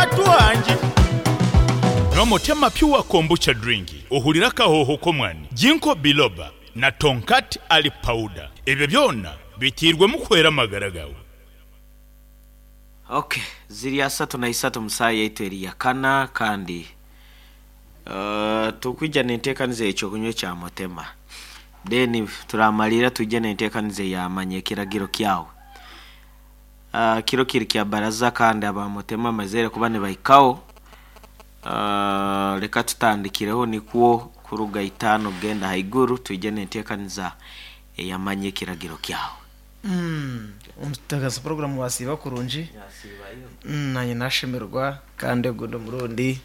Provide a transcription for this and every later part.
Batwangi. N'omutima Pure Kombucha Drink ohurira akahooho k'omwani, Ginkgo Biloba na Tongkat Ali Powder. Ebyo byona biteirwemu kuhwera amagara gaawe. Ok, ziri 31 mu saaha yaitu eri yakana kandi Tukwija n'enteekaniza ey'ekyokunywa ekya Mutema. Then turamaliira twije n'enteekaniza eya Manya Ekiragiro Kyawe. Kiro kiri kya baraza kandi aba Mutema bamazire kuba nibahikaho. Leka tutandikireho nikwo kuruga itaano kugenda haiguru twije n'enteekaniza eya Manya Ekiragiro Kyawe. Omutebeekanisa puroguraamu wasiiba kurungi, naanye nashemererwa kandi ogundi omurundi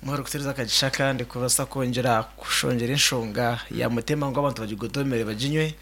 muhwere kutuheereza akagisha akandi kubaasa kwongyera kushongyera enshonga ya Mutima ngu abantu bagigotomere baginywe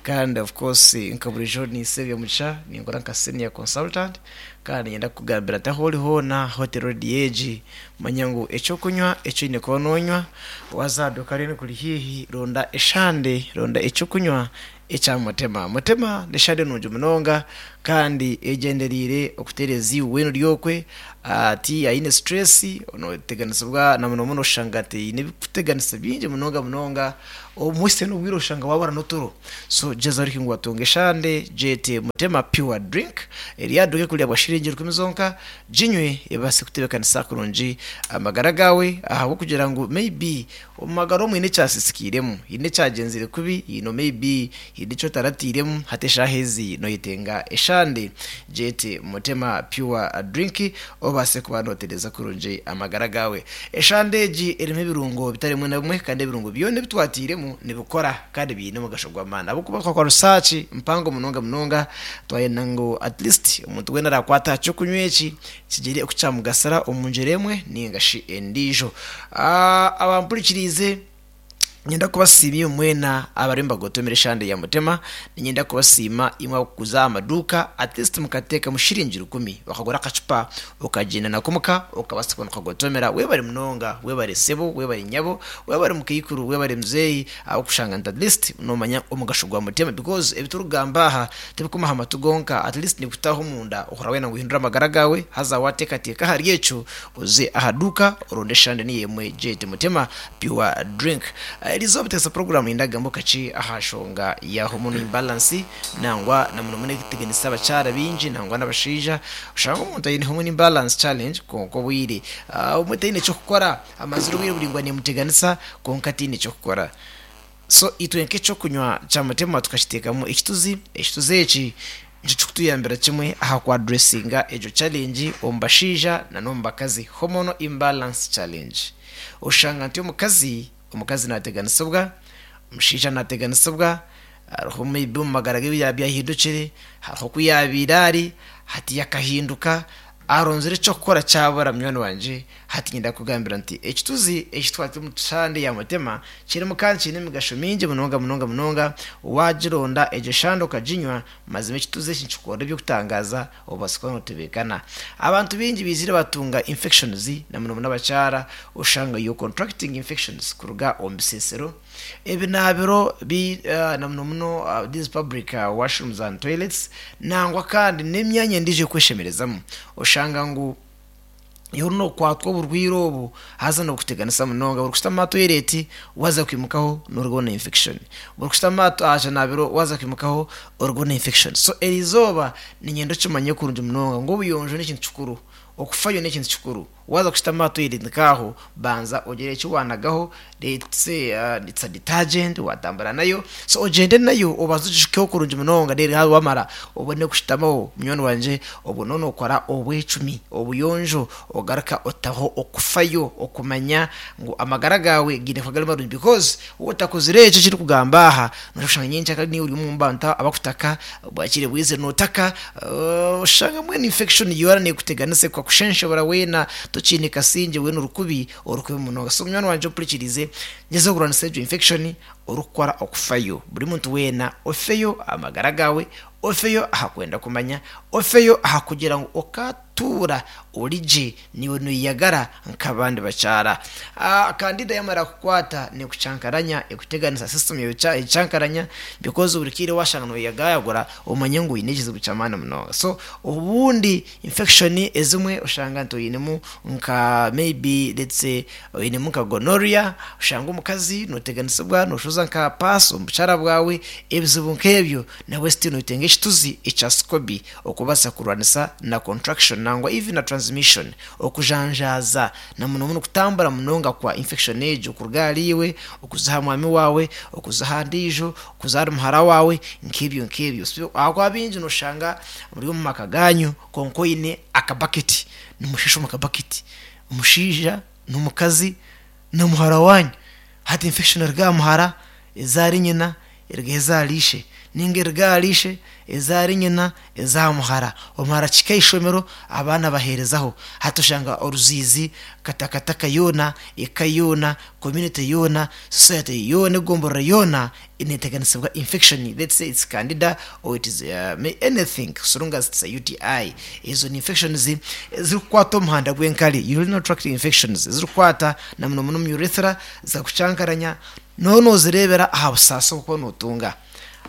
kandi of course nka buriijo ninsiima Byomugisha ninkora nka senior consultant kandi niinyenda kukugambira nti ahu ori hoona Hotel Radio egi manya ngu eky'okunywa eki oine kuba noonywa waaza aha duuka rinu kuri haihi ronda eshande ronda eky'okunywa Ekya Mutema. Mutema n'eshande nungi munonga kandi egyendereire okutereeza iwe weena ori okwe ati aine stress noteganisibwa na muno muno oshanga ati aine ebirikuteganisa bingi munonga munonga obumwe n'obwire oshanga wabura n'oturo so gyezaho oreke ngu watunga eshande gyete Mutema pure drink eri aha duuka ekurya bwa shiringi rukumi zonka ginywe ebaase kutebekanisa kurungi amagara gaawe ahabw'okugira ngu maybe Omu magara omu haine ekyasisikairemu, haine ekyagyenzire kubi, haine maybe haine eki otaratairemu, hati eshaaha ezi noyetenga eshande gyete Mutema Pure Drink obaase kuba notereeza kurungi amagara gaawe. Eshande egi erimu ebirungo bitari bimwe na bimwe kandi ebirungo byona ebi twatairemu nibikora kandi biine omugasho gw'amaani ahabw'okuba twakora research mpango munonga munonga twayenda ngu at least omuntu weena arakwata aha ky'okunywa eki kigire oku kyamugasira omu ngyera emwe ninga shi endiijo. Abampurikiriize, niinyenda kubasiima imwe mwena abariyo nibagotomera eshande ya Mutema. Niinyenda kubasiima imwe abarikuguza aha maduuka, at least mukateekamu shiringi rukumi okagura akacupa okagyenda nako omuka okabaasa kuba nokagotomera. Webare munonga, webare sebo, webare nyabo, webare mukaikuru, webare muzeeyi ahabw'okushanga nti at least noomanya omugasho gwa Mutema because ebi turikugamba aha Tibikuma aha matu gonka, at least nibikutaho omunda ohurira wayenda ngu ohindure amagara gaawe, haza wateekateeka ahari ekyo oze aha duuka oronde eshande niyo emwe gyete Mutema Pure Drink. Erizooba Teesa Program niinyenda kugambaho kakye aha nshonga ya hormonal imbalance nangwa na muno muno erikuteganisa abakyara baingi nangwa n'abashaija. Oshanga omuntu aine hormone imbalance challenge kwonka obwire obumwe taine ky'okukora, amazire obwire buraingwa neemuteganisa kwonka taine ky'okukora. So itwe nk'eky'okunywa kya Mutima tukakiteekamu ekituzi, ekituzi eki nikyo kirikutuyambira kimwe aha ku addressinga egyo challenge omu bashaija na n'omu bakazi, hormonal imbalance challenge. Oshanga nti omukazi, omukazi naateganisibwa, omushaija naateganisibwa, hariho maybe omu magara ge ebyahindukire, hariho oku yaabaire ari hati akahinduka, Aronzire eky'okukora kyabura munywani wangye, hati nyenda kukugambira nti ekituzi eki twati omu shande ya Mutema kirimu kandi kiine emigasho mingi munonga munonga munonga. Wagironda egyo shande okaginywa, mazima ekituzi eki nikikora eby'okutangaaza obaasa kuba notebeekana. Abantu baingi baizire batunga infections na muno muno abakyara oshanga you're contracting infections kuruga omu bisesero. Ebinaabiro bi na muno muno these public washrooms and toilets nangwa kandi n'emyanya endiijo ey'okweshemerezamu oshanga ngu iwe nokwatwa oburwaire obu haza nibukuteganisa munonga buri kushutama aha toilet waaza kwimukaho norugaho na infection buri kushutama aha kinaabiro waaza kwimukaho orugaho na infection so erizooba niinyenda okimanye kurungi munonga ngu obuyonjo n'ekintu kikuru okufayo n'ekintu kikuru. Waaza kushutama aha toilet nk'aho, banza ogire eki waanagaho, let's say it's a detergent waatambura nayo, so ogyende nayo obanze ogishukeho kurungi munonga then haza waamara obone kushutamaho munywani wangye, obwo nooba nookora obwecumi, obuyonjo, ogaruka otaho okufayo okumanya ngu amagara gaawe gaine kuba gari marungi because waaba otakozire ekyo eki ndikugamba aha, noija kushanga nyencakare niiwe ori omu bantu abakutaka, Bwakire bwizire notaka oshanga mbwenu infection yoona nekuteganisa ekakushenshebura weena tokiine kasingye weena orikubi orikubi munonga. So munywani wangye ompurikirize gyezaho kurwanisa egyo infection orikukora okufayo. Buri muntu weena ofeyo aha magara gaawe, ofeyo aha kwenda kumanya, ofeyo aha kugira ngu okatuura. Ori gye, naiwe noyeyagara nk'abandi bakyara. Candida yamara kukwata nekucankaranya, ekuteganisa system yawe ecankaranya because buri kaire washanga noyeyagayagura omanye ngu oyine ekizibu ky'amaani munonga. So obundi infection ezimwe oshanga nti oyinemu nka maybe let's say oyinemu nka gonorrhea, oshanga omukazi noteganisibwa noshoza nka pass omu bukyara bwawe, ebizibu nk'ebyo nabwe still noyetenga ekituzi ekya SCOBY okubaasa kurwanisa na contraction nangwa even na transmission, okujanjaaza na muno muno kutambura munonga kwa infection egyo kuruga ahari iwe okuza aha mwami waawe, okuza aha ndiijo, okuza ahari muhara waawe nk'ebyo nk'ebyo. So ahakuba baingi noshanga muri omu maka gaanyu kwonka oine akabaketi, nimusheesha omu kabaketi, omushaija n'omukazi na muhara waanyu. Hati infection eruga aha muhara eza ahari nyina eruga eza ahari ishe, ninga eruga ahari ishe eza ahari nyina eza aha muhara. Omuhara akihika aha ishomero abaana abaheerezaho. Hati oshanga oruziizi, katakataka yoona, eka yoona, community yoona, society yoona, egomborora yoona neteganisibwa infection, let's say it's candida or it is anything so long as it's a UTI. Ezo ni infections ezirikukwata omuhanda gw'enkari, urinary tract infections, ezirikukwata na muno muno omu urethra zikakucankaranya Nooba noozireebera aha busaasi obu orikuba nootunga.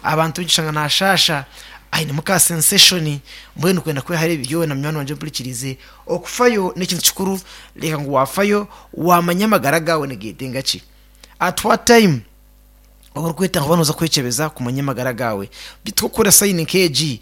Abantu baingi oshanga naashaasha ainemu ka sensation mbwenu kwenda kwehayo ebi byona munywani wangye ompurikiriize, okufayo n'ekintu kikuru reeba ngu waafayo waamanya amagara gaawe nigeetenga ki. At what time obu orikwetaaga kuba nooza kwekyebeza kumanya amagara gaawe. Beitu ku orikuhurira sayini nk'egi.